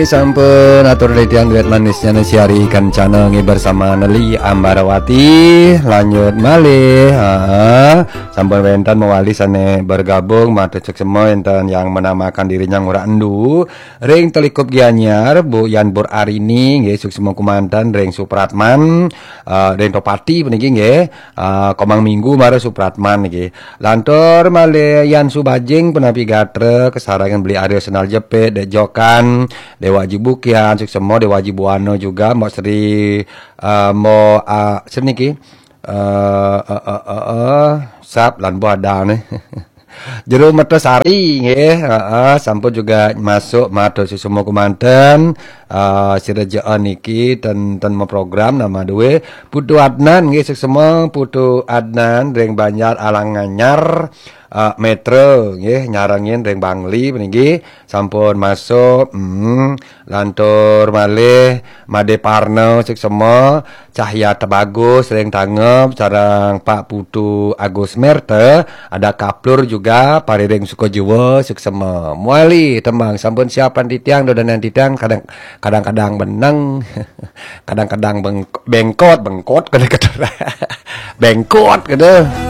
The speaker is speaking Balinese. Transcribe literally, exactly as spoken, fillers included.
Sampun atur titiang duet manisnya Nesi Ari Kencana nggih bersama Neli Ambarawati. Lanjut malih. Ha, sampun wenten mawali sane bergabung, matur suksma enten yang menamakan dirinya Ngurah Endu ring Telikup Gianyar, Bu Yan Pur Arini nggih, suksma kumanten ring Supratman, eh, ring Topati puniki nggih. Eh, Komang Minggu mara Supratman niki. Lantur malih Yan Subajing, punapi gatra, kasarengin Beli Arya Sendal Jepit, Dek Jokan, Dewa Aji Bukian, suksma Dewa Aji Buana juga, Mbok Sri, eh, Mbok, ah, Sri niki. Eh, eh, eh, eh, eh, sap lan Bu Ada nih. Jero Mertasari nggih, heeh, sampun juga masuk matur suksma kumanten. Eh, sira jaan niki ten, ten mau program nama duwe Putu Adnan nggih, suksma Putu Adnan ring Banjar Alang Anyar, eh, Metro nggih, nyarengin ring Bangli puniki sampun masuk. Hmm, lantur malih Made Parno suksma, Cahya Tebagus ring Tangeb, sareng Pak Putu Agus Merta, ada Kaplur juga, pariring Sukajiwa, suksma. Mawali tembang sampun siapan titiang, dodonan titiang, kadang, kadang-kadang beneng, kadang-kadang beng-, bengkot, bengkot, kada keterang. Bengkot, kada.